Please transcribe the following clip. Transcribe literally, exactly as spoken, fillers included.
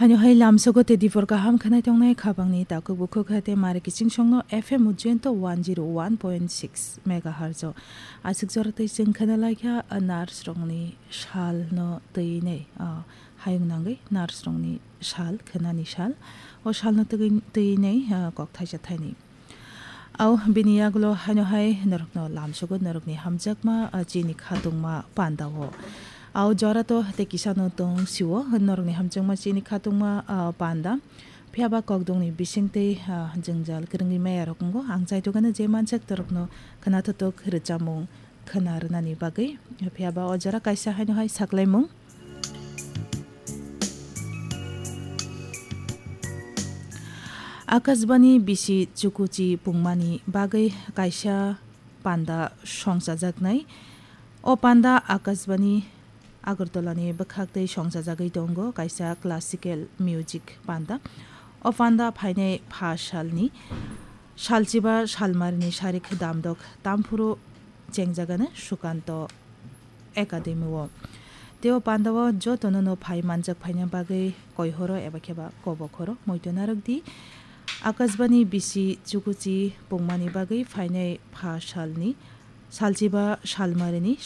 Haino hai lamsogo te dibor kaham khnai tongnai khabangni takhuk bukhuk hate mari kiching songno F M Ujjayanta one zero one point six megahertz o. Aswk jora tei chwng khna laikha, ah, nurse rokni sal no twi nei, ah, hayung nangwi nurse rokni sal, khnani sal. O sal no twi, twi nei, ah, kok thaisa thaini. Au bini yagulo haino hai norokno lamsogo norokni hamjakma, ah, chini khatungma pandao. Au jora to tei kisano tong siwo norokni hamjakma chini khatungma, ah, panda. Phiya ba kokdongni bising tei, ah, jwngjal kwrwngwi maya rok wngo. Ang chaitokgano je manjak torokno khwnathotok rwchapmung khwna rwnani bagwi. Phiya ba o jora kaisa haino hai saklaimung. Akashbani bisi chukuchi pungmani bagwi kaisa panda songchajaknai. O panda Akashbani Agartala ni bwkhak tei songchajagwi tongo kaisa classical music panda. O panda phainai pha salni salchiba salmarini sarik damdok tamphuru chengjagano Sukanto Academy o. Tei o panda o jotono no phai manjak phaina bagwi koihoro eba kheba kobok horo moito narwk di. Akashbani bisi chukuchi pungmani bagwi phainai pha salni salchiba salmarini